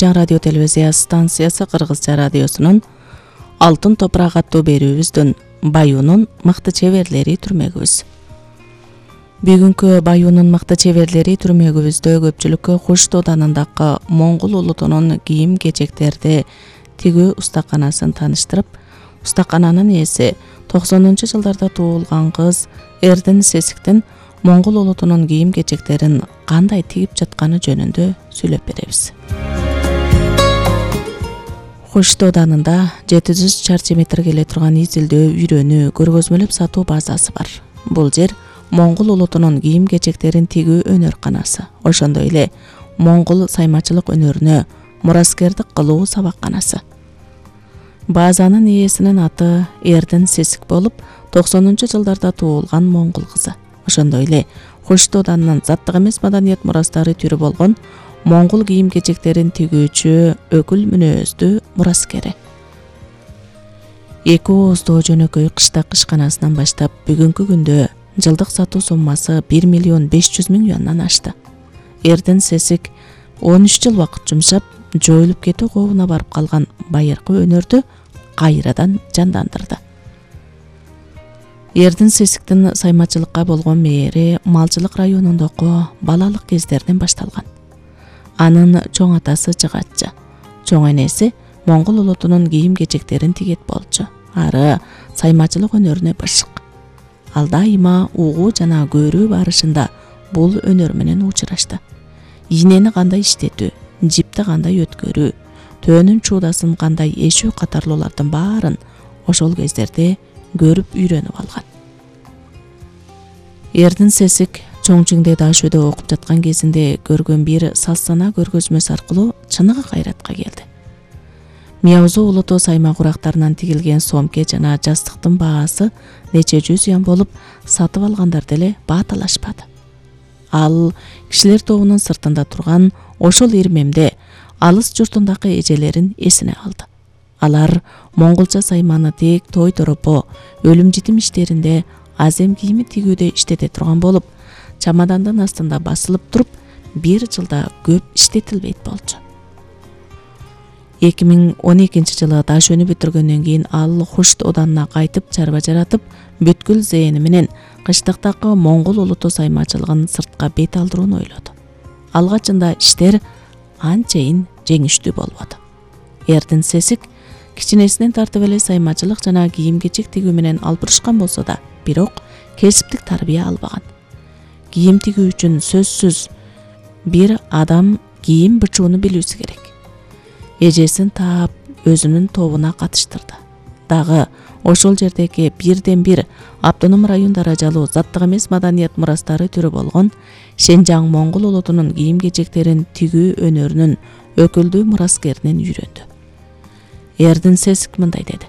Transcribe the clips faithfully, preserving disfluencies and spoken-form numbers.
Радио телевизия станциясы Кыргызча радиосунун Алтын топурак аттуу берүүбүздөн Баюунун мыкты чеберлери түрмөгүбүз. Бүгүнкү Баюунун мыкты чеберлери түрмөгүбүздө көпчүлүккө Хуш Дооданындагы Моңгол улутунун кийим-кечектерди тигүү устаканасын тааныштырып, устакананын ээси токсонунчу жылдарда туулган кыз Эрдин Сесиктин Моңгол улутунун кийим-кечектерин кандай тигип жатканы жөнүндө сүйлөп беребиз. Хуш Дооданында жети жүз чарчы метр келе турган изилдөө, үйрөнүү, көргөзмөлөп сатуу базасы бар. Бул жер Моңгол улутунун кийим-кечектерин тигүү өнөрканасы, ошондой эле Моңгол саймачылык өнөрүнө мураскердик кылуу сабакканасы. Базанын ээсинин аты Эрдин Сесик болуп, токсонунчу жылдарда туулган моңгол кызы. Ошондой эле Хуш Дооданынын заттык эмес маданият мурастары түрү болгон моңгол кийим-кечектерин тигүүчү өкүл мүнөздүү мураскери. Эки ооздуу жөнөкөй кыштак ишканасынан баштап бүгүнкү күндө жылдык сатуу суммасы бир миллион беш жүз миң юандан ашты. Эрдин Сесик он үч жыл убакыт жумшап, жоюлуп кетүү кообуна барып калган байыркы өнөрдү кайрадан жандандырды. Эрдин Сесиктин саймачылыкка болгон мээри малчылык районундагы балалык кездеринен башталган. Анын чоң атасы жыгатчы, чоң энеси моңгол улутунун кийим-кечектерин тигет болчу. Ары саймачылык өнөрүнө бышык. Ал дайыма угуу жана көрүү барышында бул өнөр менен учурашты. Ийнени кандай иштетүү, жипти кандай өткөрүү, төөнүн чуудасын кандай эшүү катарлуулардын баарын ошол кездерде көрүп үйрөнүп алган. Эрдин Сесик Чоңчуңде Дашөдө окуп жаткан кезинде көргөн бир саз-сана көргөзмөсү аркылуу чыныгы кайратка келди. Мияузу улуту сайма курактарынан тигилген сомке жана жастыктын баасы нече жүз юан болуп, сатып алгандар деле баа талашпады. Ал кишилер тобунун сыртында турган ошол ирмемде алыс журтундагы эжелерин эсине алды. Алар монголча сайманы тек той торопо, өлүм житим иштеринде, азем кийими тигүүдө иштете турган болуп, чамадандын астында басылып туруп, бир жылда көп иштетилбейт болчу. эки миң он экинчи жылы Дашөөнү бүтүргөндөн кийин ал Хуш Дооданына кайтып чарба жаратып, бүткүл зээни менен кыштыктагы моңгол улуту саймачылыгын сыртка бет алдырууну ойлоду. Алгачында иштер анчейин жеңиштүү болбоду. Эрдин Сесик кичинесинен тартып эле саймачылык жана кийим-кечек тигүү менен албырышкан болсо да, бирок кесиптик тарбия албаган. Кийим тигүү үчүн сөзсүз бир адам кийим бычууну билүүсү керек. Эжесин таап, өзүнүн тобуна катыштырды. Дагы ошол жердеги бирден бир автоном район даражалуу заттык эмес маданият мурастары түрү болгон Шенжаң моңгол улутунун кийим-кечектерин тигүү өнөрүнүн өкүлдүү мураскеринен үйрөндү. Эрдин Сесик мындай деди: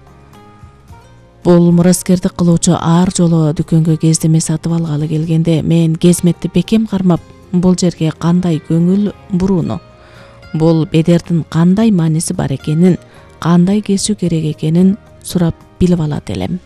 Бул мураскердик кылуучу ар жолу дүкөнгө кездеме сатып алгалы келгенде мен кезметти бекем кармап, бул жерге кандай көңүл бурууну, бул бедердин кандай мааниси бар экенин, кандай кесүү керек экенин сурап билип алат элем.